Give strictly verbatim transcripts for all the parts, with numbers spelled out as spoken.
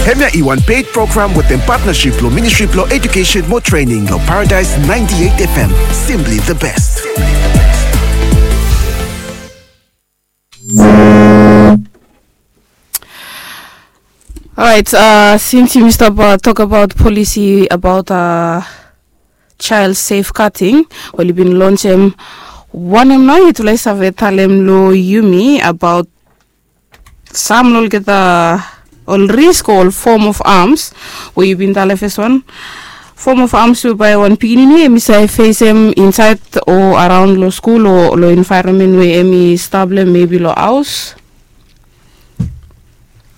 Hemia i wan paid program wetem partnership lo Ministry blo Education mo Training lo Paradise ninety-eight F M. Simply the best. Alright, uh, since yumi stap uh, tok abaot polisi abaot uh, child safeguarding, wel i bin lonsem wanem nao yutufala i save talem lo yumi abaot sam lo olgeta ol risk o ol form of arms we yu bin talem fes wan form of arms we bae wan pikinini em i save fesem insaed o araon lo skul o lo envaeronmen we em i stap lo hem mebi lo haos.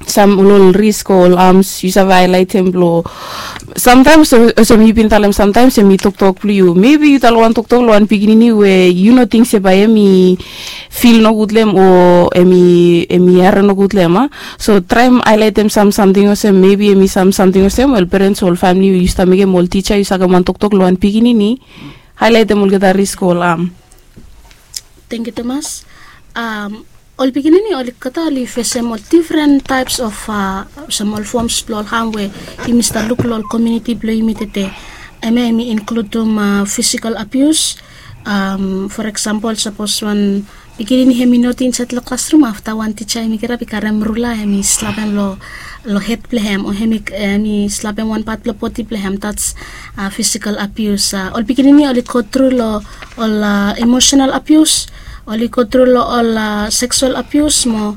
Sam ol ol risk o ol arms yu save haelaetem blo samtaems olsem yu bin talem samtaems em i toktok blo yu mebi yu talem wan toktok lo wan pikinini we yu no ting se bae em i fil nogud lo hem o em i em i harem nogud lo hem a. So traem haelaetem sam samting olsem mebi em i sam samting olsem wel perens o ol famili we yu stap mekem ol tija yu sakem wan toktok lo wan pikinini. Haelaetem olgeta risk o ol arm. Tengkiu tumas. Ol pikinini oli kata oli fesem ol difren taeps of olsem ol foms blong ol ham we yumi stap luk long ol komiuniti blong yumi tete. Em ya em i inkludum fisikal abius. For eksampol sapos wan pikinini hem i noti insaed long klasrum afta wan tija hem i kirap i karem rula hem i slapem long long hed blong hem o hem i slapem wan pat blong bodi blong hem dats fisikal abius. Ol pikinini oli gotru long ol imosenal abius, oli gotru long ol seksual abius mo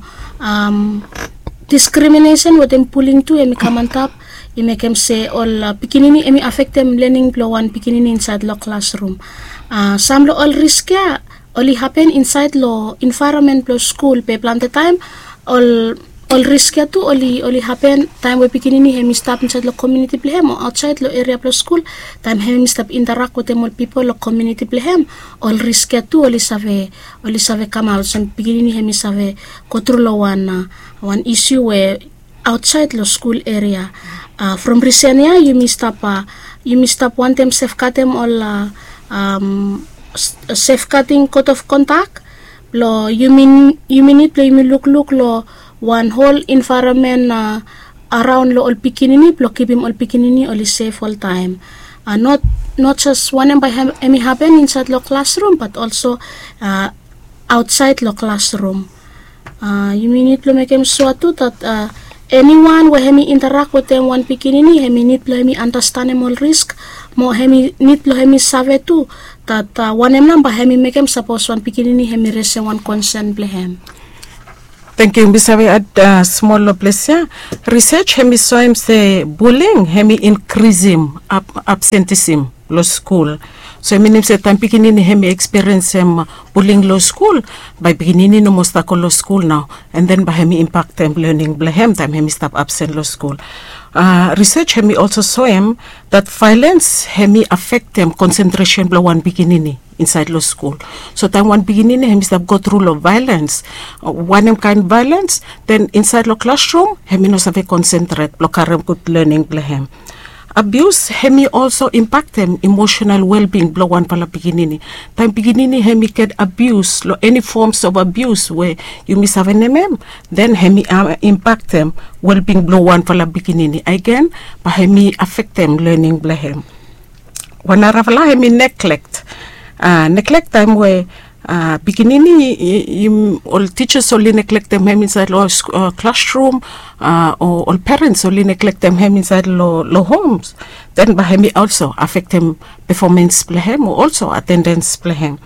diskriminesen wetem buling tu hem i kam antap. I mekem se ol pikinini hem i afektem lening blong wan pikinini insaed long klasrum. Sam long ol risk ya oli hapen insaed long envaeronmen blong skul be plante taem ol ol risk ya tu oli oli hapen taem we pikinini hem i stap insaed long komiuniti blong hem o aotsaed long eria blong skul. Taem hem i stap interak wetem ol pipol long komiuniti blong hem ol risk ya tu oli save oli save kamaot olsem pikinini hem i save gotru long wan wan isiu we aotsaed long skul eria. From risen ya yumi stap yumi stap wantem sefgadem ol sefgading kot of kondak blong yumi nid blong yumi lukluk long wan hol envaeronmen araon long ol pikinini blong kipim ol pikinini oli sef oltaem. Not not jes wanem bae hem i hapen insaed long klasrum bat olso aotsaed long klasrum. Yumi nid blong mekem sua tu dat eniwan we hem i interak wetem wan pikinini hem i nid blong hem i anastanem ol risk mo hem i nid blong hem i save tu dat wanem nao bae hem i mekem sapos wan pikinini hem i resem wan konsen blong hem. Tengkiu mi save ad smol long ples ya. Risej hem i soem se buling hem i inkrisim absentisim long skul. So i minim se taem pikinini hem i ekspiriensem buling long skul bae pikinini no moa stap go long skul nao. An den bae hem i impaktem lening blong hem taem hem i stap absen long skul. Risej hem i olso soem dat vaelens hem i afektem konsentresen blong wan pikinini insaed long skul. So taem wan pikinini hem i stap gotru long vaelens wanem kaen vaelens den insaed long klasrum hem i no save konsentret blong karem gud lening blong hem. Abius hem i olso impaktem imosenal welbing blong wanfala pikinini. Taem pikinini hem i get abius long eni foms of abius we yumi save nemem den hem i impaktem welbing blong wanfala pikinini agen bae hem i afektem lening blong hem. Wan narafala hem i neglekt. Neglekt taem we pikinini ol tijas oli neglektem hem insaed long klasrum o ol perens oli neglektem hem insaed long homs den bae hem i olso afektem pefomens blong hem o olso atendens blong hem.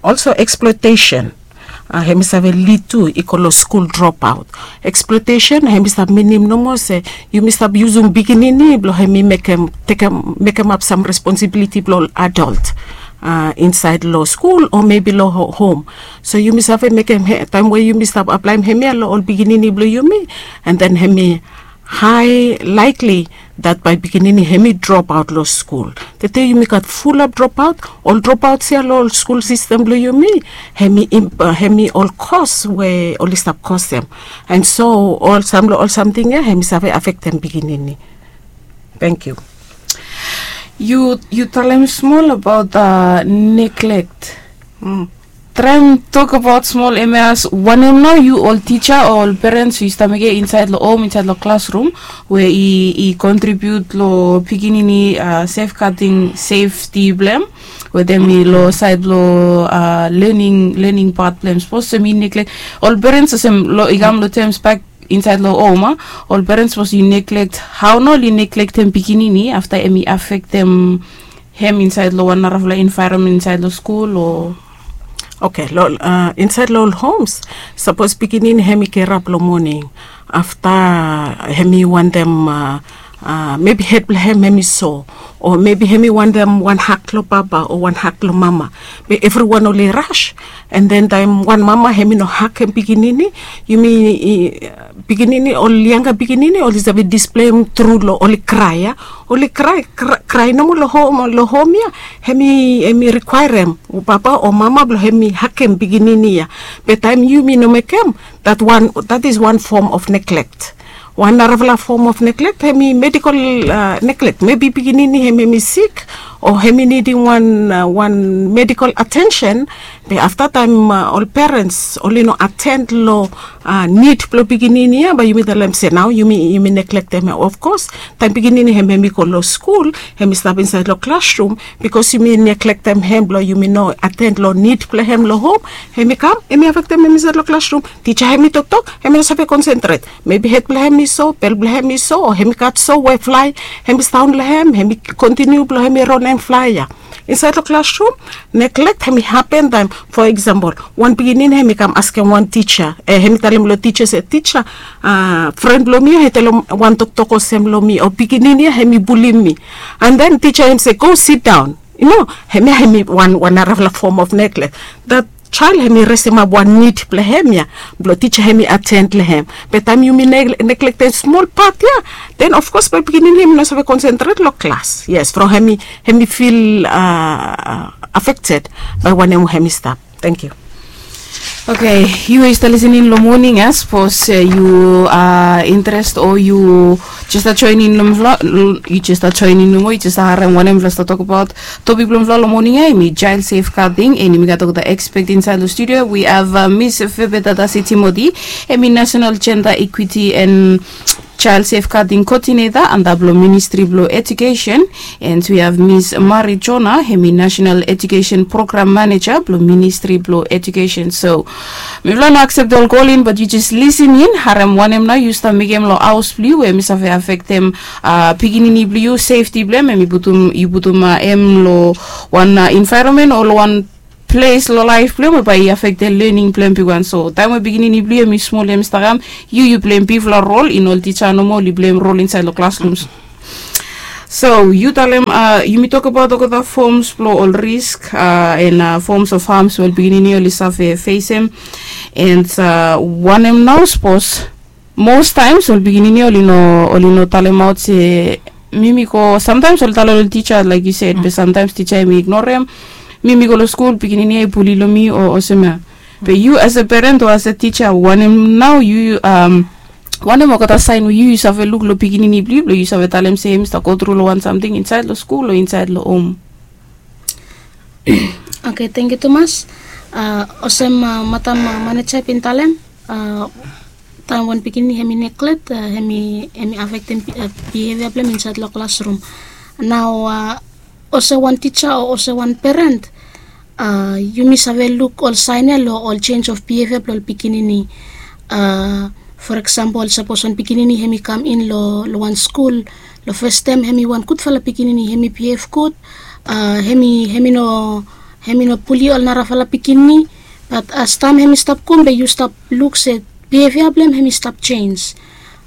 Olso eksploetesen hem i save lid tu i go long skul dropaot. Eksploetesen hem i stap minim nomo se yumi stap yusum pikinini blong hem i mekem tekem mekemap sam responsibiliti blong ol adolt insaed long skul o mebi long hom. So yumi save mekem taem we yumi stap aplaem hemia long ol pikinini blong yumi an den hem i hae laekli dat bae pikinini hem i dropaot long skul. Tete yumi gat fulap dropaot ol dropaots ya long ol skul sistem blong yumi hem i hem i ol kos we oli stap kosem. An so ol sam long ol samting ya hem i save afektem pikinini. Tengkiu. Yu yu talem smol abaot neglekt. Traem tokbaot smol, em ya as wanem nao yu ol tija o ol perens yu stap mekem insaed long hom, insaed long klasrum, we i kontribiut long pikinini sefgading sefti blong hem, wetem i long saed blong lening lening pat blong hem. Sapos olsem i neglek ol perens olsem, i kam long tems bak insaed long hom a, ol perens sapos i neglek, hao nao oli neglektem pikinini afta hem i afektem hem insaed long wan narafala envaeronmen insaed long skul o? Oke, long insaed long ol homs, sapos pikinini hem i gerap long moning, afta hem i wantem, mebi hed blong hem hem i so, o mebi hem i wantem wan hak long papa o wan hak long mama, be evriwan oli ras. An den taem wan mama hem i no hakem pikinini, yumi, pikinini, ol yanga pikinini oli save displeim tru long oli krae ya. Oli krae, krae nomo long hom ya, hem i rikwaerem papa o mama blong hem i hakem pikinini ya. Be taem yumi no mekem, dat is wan fom of neglek. Wan narafala fom of neglek hem i medikol neglek. Mebi pikinini hem hem i sik, o hem i nidim wan wan medikol atensen. Be afta taem ol perens oli no aten long nid blong pikinini ya, bae yumi talem se nao yumi neglektem hem. Ofkos taem pikinini hem hem i go long skul, hem i stap insaed long klasrum, bikos yumi neglektem hem blong yumi no aten long nid blong hem long hom, hem i kam hem i afektem hem insaed long klasrum. Tija hem i toktok, hem i no save konsentret. Mebi hed blong hem i so, bel blong hem i so, o hem i gat so we flae hem i staon long hem, hem i kontiniu blong hem i ronem flae ya. Insaed long klasrum, neglek hem i hapen taem, fo eksampol, wan pikinini hem i kam askem wan tija, hem i talem long tija se, tija, fren blong mi ya i talem wan toktok olsem long mi, o pikinini ya hem i bulim mi. An den tija hem se go sidaon. Yu no, hem ya hem i wan narafala fom of neglek. Dat jael hem i resemap wan nid blong hem ya, blong tija hem i aten long hem. Be taem yumi neglektem smol pat ya, den ofkos bae pikinini hem i no save konsentret long klas. Yes, from hem i fil afekted bae wanem we hem i stap. Tangkiu. Oke, yu we yu stap lisening long moning ya, sapos yu interes o yu jes stap joening long mifala, yu jes stap joening nomo, yu jes stap harem wanem mifala stap tokbaot. Topik blong mifala long moning ya hem i jael sefgading, an yumi gat olgeta ekspet insaed long studio. We have Miss Febeta Dasi Timoti, hem i National Jenda Ikwiti an Jael Sefgading Koodineta antap long Ministri blong Ejukesen, an we have Miss Mari Jona, hem i National Ejukesen Program Maneja blong Ministri blong Ejukesen. So mifala no akseptem ol kolin, bat yu jes lisening, harem wanem nao yu stap mekem long haos blong yu we hem i save afektem pikinini blong yu, sefti blong hem, hem i putum, yu putum hem long wan envaeronmen o long wan ples long laef blong hem we bae i afektem lening blong hem bigwan. So taem we pikinini blong yu hem i smol hem i stap kam, yu yu pleim bigfala rol, i no ol tija nomo oli pleim rol insaed long klasrums. So yu talem, yumi tokbaot olgeta foms blong ol risk an foms of hams we ol pikinini oli save fesem. An wanem nao sapos mos taems ol pikinini oli no, oli no talemaot se mi mi go, samtaems oli talem long tija laik yu sed, be samtaems tija hem i ignorem. Mi mi go long skul, pikinini ya i buli long mi o olsem ya. Be yu as a peren o as a tija, wanem nao yu, wanem olgeta saen we yu yu save luk long pikinini blong yu blong yu save talem se hem i stap gotru long wan samting insaed long skul o insaed long hom? Oke, tangkiu tumas. Olsem madam maneja i bin talem, taem wan pikinini hem i neglek, hem i afektem bihevia blong hem insaed long klasrum. Nao olsem wan tija o olsem wan peren, yumi save luk ol saen ya long ol jenis of bihevia blong ol pikinini. For eksampol, sapos wan pikinini hem i kam in long wan skul, long fastaem hem i wan gudfala pikinini, hem i bihev gud, hem i, hem i no, hem i no buli ol narafala pikinini. Bat as taem hem i stap go, be yu stap luk se bihevia blong hem hem i stap jenis.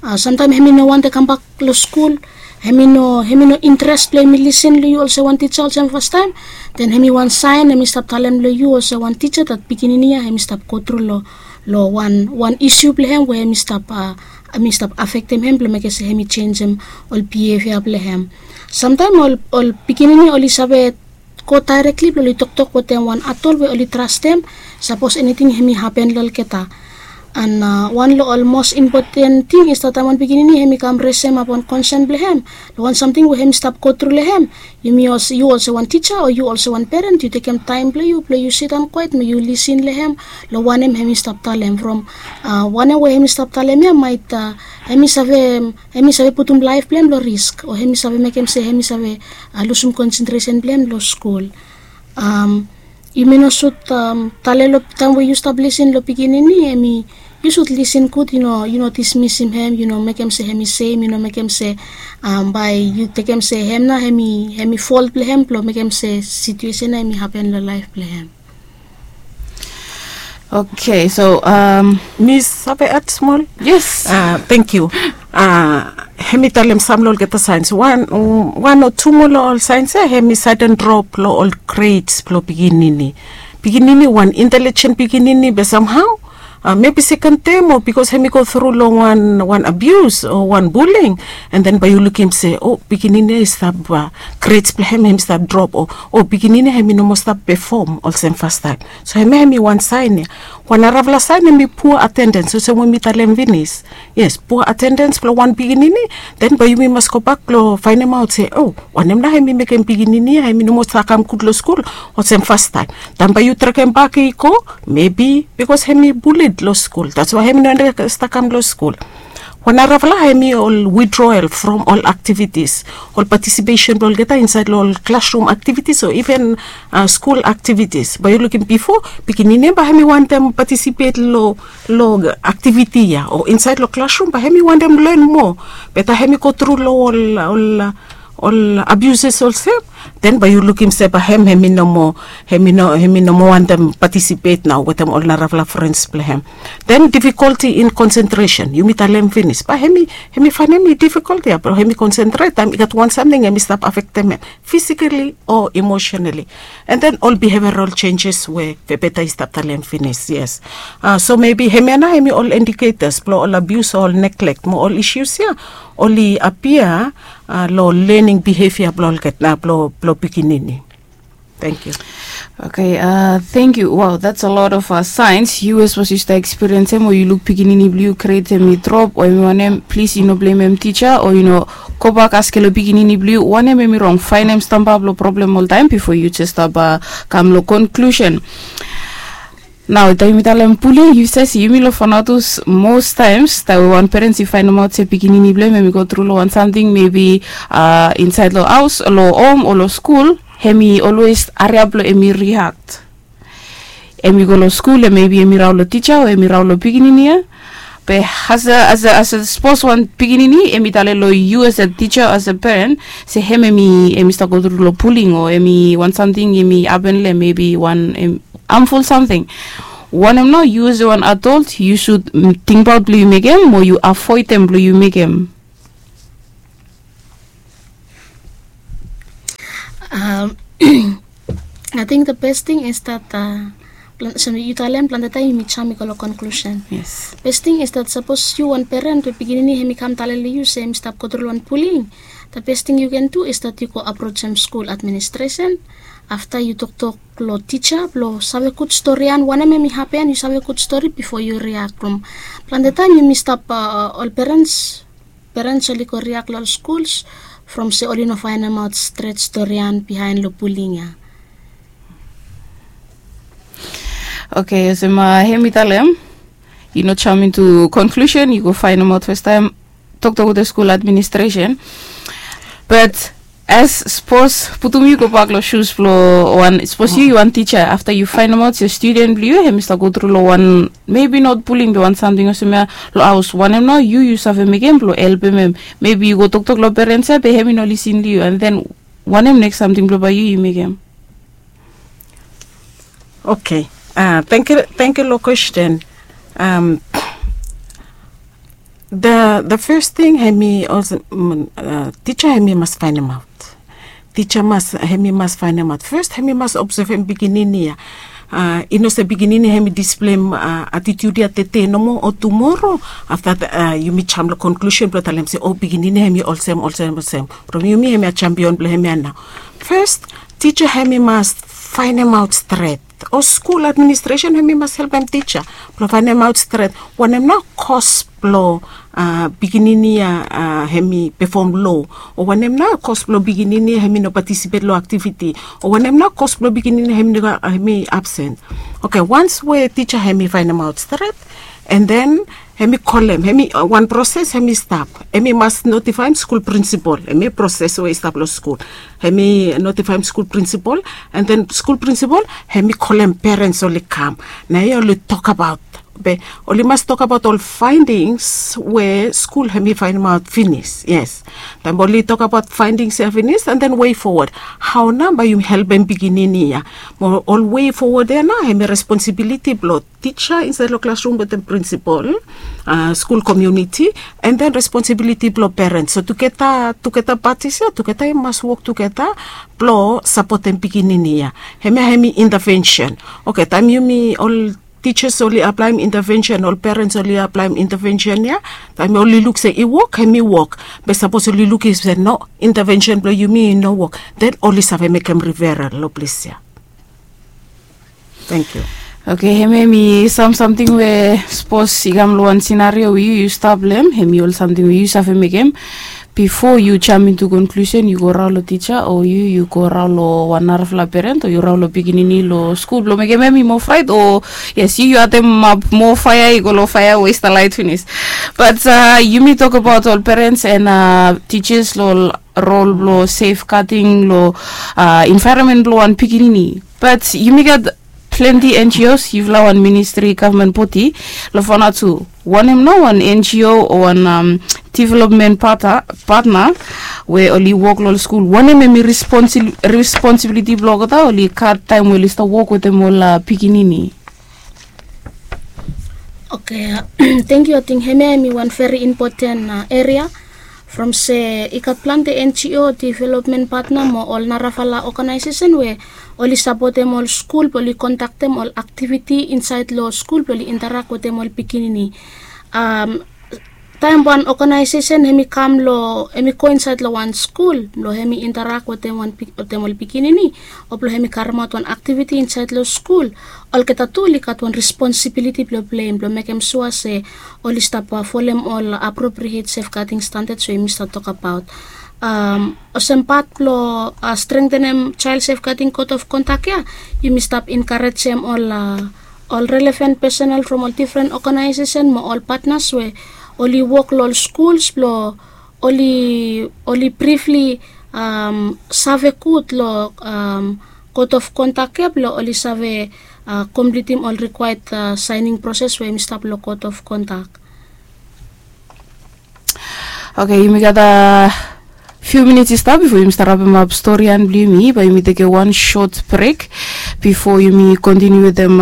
Samtaem hem i no wantem kambak long skul, hem i no, hem i no interes blong hem i lisen long yu olsem wan tija olsem fastaem. Den hem i wan saen hem i stap talem long yu olsem wan tija dat pikinini ya hem i stap gotru long, long wan, wan isiu blong hem we hem i stap, hem i stap afektem hem blong mekem se hem i jenisim ol bihevia blong hem. Samtaem ol, ol pikinini oli save go daerekli blong oli toktok wetem wan adol we oli trastem, sapos eniting hem i hapen long olgeta. An wan long ol mos impoten ting i stap taem wan pikinini hem i kam resem ap wan konsen blong hem long wan samting we hem i stap gotru long hem. Yumi olsem yu olsem wan tija o yu olsem wan peren yu tekem taem blong yu blong yu sidaon kwet mo yu lisin long hem long wanem hem i stap talem from wanem we hem i stap talem ya maet hem i save hem i save putum laef blong hem long risk o hem i save mekem se hem i save lusim konsentresen blong hem long skul. Yumi no sut tale long taem we yu stap lisin long pikinini hem i yu sut lisin gud yu no yu no dismisim hem yu no mekem se hem i sem yu no mekem se bae yu tekem se hem nao hem i hem i fol blong hem blong mekem se situesen nao hem i hapen long laef blong hem. Oke so mi save at smol? Yes. Tengkiu. Hem i talem sam long olgeta saens wan o tu moa long ol saens ya hem i saeden drop long ol greds blong pikinini. Pikinini wan intelijen pikinini be samhao mebi seken tem o bikos hem i go tru long wan abius o wan buling. An den bae yu lukim se o pikinini ya i stap greds blong hem hem i stap drop o pikinini ya hem i no moa stap pefom olsem fastaem. So hem ya hem i wan saen ya. Wan narafala saen hem i pua atendens olsem we mi talem finis. Yes pua atendens blong wan pikinini. Den bae yumi mas gobak blong faenemaot se o wanem nao hem i mekem pikinini ya hem i no moa stap kam gud long skul olsem fastaem. Den bae yu trekem bak i go mebi bikos hem i bulid long skul dats wae hem i no stap kam long skul. Wan narafala hem i ol widroel from ol aktivitis ol patisipesen blong olgeta insaed long ol klasrum aktivitis o iven skul aktivitis bae yu lukim bifo pikinini ya bae hem i wantem patisipet long aktiviti ya o insaed long klasrum bae hem i wantem len moa. Be taem hem i go tru long ol ol abiuses olsem den bae yu lukim se bae hem hem i no moa hem i no hem i no moa wantem patisipet nao wetem ol narafala frens blong hem. Den difikolti in konsentresen yumi talem finis bae hem i hem i faenem i difikolti ya blong hem i konsentret taem i gat wan samting hem i stap afektem hem fisikali o emosenali. An den ol biheviaral senjes we pepeta i stap talem finis yes. So mebi hemia nao hem i ol indiketas blong ol abius o ol neglek mo ol isius ya oli apia long lening bihevia blong olgeta blong pikinini. Tengkiu. Oke. Tengkiu wow dats a lot of saens yu as was yu stap ekspiriensem o yu luk pikinini blong yu gred hem i drop o hem i wanem plis yu no blemem tija o yu no gobak askem long pikinini blong yu wanem hem i rong faenem stamba blong problem oltaem bifo yu jes stap kam long konklusen. Nao taem yumi talem puling yu sesi yumi long fanatus mos taems taem we wan perens i faenemaot se pikinini blong hem hem i go tru long wan samting mebi insaed long haos long hom o long skul hem i olwes hariap blong hem i riakt. Hem i go long skul ya mebi hem i raon long tija o hem i raon long pikinini ya. Be as a as a as a sapos wan pikinini hem i tale long yu as a tija as a peren se hem hem i hem i stap go tru long puling o hem i wan samting hem i hapen long hem mebi wan hamful samting. Wanem nao yu as a wan adolt yu sud tingbaot blong yu mekem o yu avoedem blong yu mekem? Ating the best ting is that olsem yu talem plante taem yumi jam i go long konklusen. Best ting is that sapos yu wan peren we pikinini hem i kam tale long yu se hem i stap go tru long wan puling, the best ting yu ken du is that yu go aprojem skul administresen afta yu toktok long tija blong save gud storian wanem hem i hapen yu save gud stori bifo yu riak blong plante taem yumi stap ol perens perens oli go riak long ol skuls from se oli no faenemaot stret storian bihaen long puling ya. Oke olsem hem i talem yu no jam intu konklusen yu go faenemaot fastaem toktok wetem skul administresen. Bat as sapos putum yu gobak long sus blong wan sapos yu yu wan tija afta yu faenemaot se studen blong yu hem i stap go tru long wan mebi not puling be wan samting olsem ya long haos wanem nao yu yu save mekem blong helpem hem? Mebi yu go toktok long perens ya be hem i no lisin long yu an den wanem neks samting blong bae yu yu mekem? Oke. Tengkiu long kwesten. The fes ting hem i olsem tija hem i mas faenemaot. Tija mas hem i mas faenemaot fes hem i mas obsevem pikinini ya. I no se pikinini hem i displem atitiut ya tete nomo o tumoro afta yumi jam long konklusen blong talem se o pikinini hem i olsem olsem olsem from yumi hem ya jampion blong hem ya nao. Fes tija hem i mas faenemaot stret, o skul administresen hemi mas helpem tija blong faenemaot stret wanem nao kos blong pikinini ya hemi pefom lo, o wanem nao kos blong pikinini ya hemi no patisipet long aktiviti, o wanem nao kos blong pikinini ya hemi absen. Oke, wans we tija hemi faenemaot stret, and then hemi kolem, hemi wan proses hemi stap. Hemi mas notifaem skul prinsipol, hemi proses we i stap long skul. Hemi notifaem skul prinsipol, and then skul prinsipol hemi kolem perens oli kam, na ya oli tokabaot. Be oli mas tokabaot ol faendings we skul hemi faenemaot finis. Yes, taem oli tokabaot faendings ya finis, and then wei fowod, hao nao bae yumi helpem pikinini ya? Mo ol wei fowod ya nao hemi responsibiliti blong tija insaed long klasrum wetem prinsipol, skul komuniti, and then responsibiliti blong perens. So tugeta, tugeta patis ya tugeta i mas wok tugeta blong sapotem pikinini ya. Hemia hemi intavensen. Oke, taem yumi ol tijas oli aplaem intavensen, ol perens oli aplaem intavensen ya, taem oli luk se i wok, hemi wok. Be sapos oli lukim se no, intavensen blong yumi i no wok, den oli save mekem riferal long ples ya. Tangkiu. Oke, hemia hemi sam samting we sapos i kam long wan sinario we yu yu stap long hem, hemi ol samting we yu save mekem bifo yu jam intu konklusen, yu go raon long tija o yu yu go raon long wan narafala peren o yu raon long pikinini long skul blong mekem hem i moa fraet o yes, yu yu atemap moa faea i go long faea we i stap laet finis. Bat yumi tokbaot ol perens and tijas long rol blong sefgading long envaeronmen blong wan pikinini. Bat yumi gat plante N G Os, yufala wan ministri gavman bodi, long Vanuatu. Wanem nao wan N G O o wan developmen patna we oli wok long ol skul, wanem hemi responsibiliti blong olgeta? Oli gat taem we oli stap wok wetem ol pikinini? Oke, tangkiu. Ating hemia hemi wan veri impoten eria from se i gat plante N G O, developmen patna mo ol narafala oganaesesen we oli sapotem ol skul blong oli kondaktem ol aktiviti insaed long skul blong oli interak wetem ol pikinini. Taem wan oganaesesen hemi kam long, hemi go insaed long wan skul blong hemi interak wetem ol pikinini o blong hemi karemaot wan aktiviti insaed long skul, olgeta tu oli gat wan responsibiliti blong pleim blong mekem sua se oli stap folem ol apropriet sefgading standats we yumi stap tokbaot. Olsem pat blong strengtenem jael sefgading kot of kondak ya, yumi stap enkarejem ol ol relevan pesenel from ol difren oganaesesen mo ol patnas we oli wok long ol skuls blong oli brifli save gud long kot of kondak ya blong oli save komplitim ol rikwaed saening proses we yumi stap long kot of kondak. Oke, yumi gat fiu minits i stap bifo yumi stap rapemap storian blong yumi. Bae yumi tekem wan sot brek bifo yumi kontiniu wetem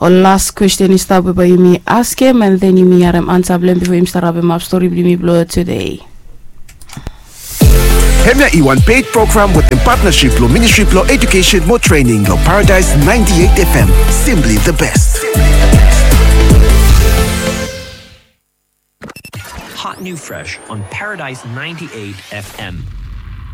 ol las kwesten i stap we bae yumi askem, and then yumi harem ansa blong hem bifo yumi stap rapemap stori blong yumi blong tude. Hemia i wan ped program wetem patnasip blong Ministri blong Ejukesen mo Trening long Paradise ninety-eight F M. Simply the best. Hot new fresh on Paradise ninety-eight F M.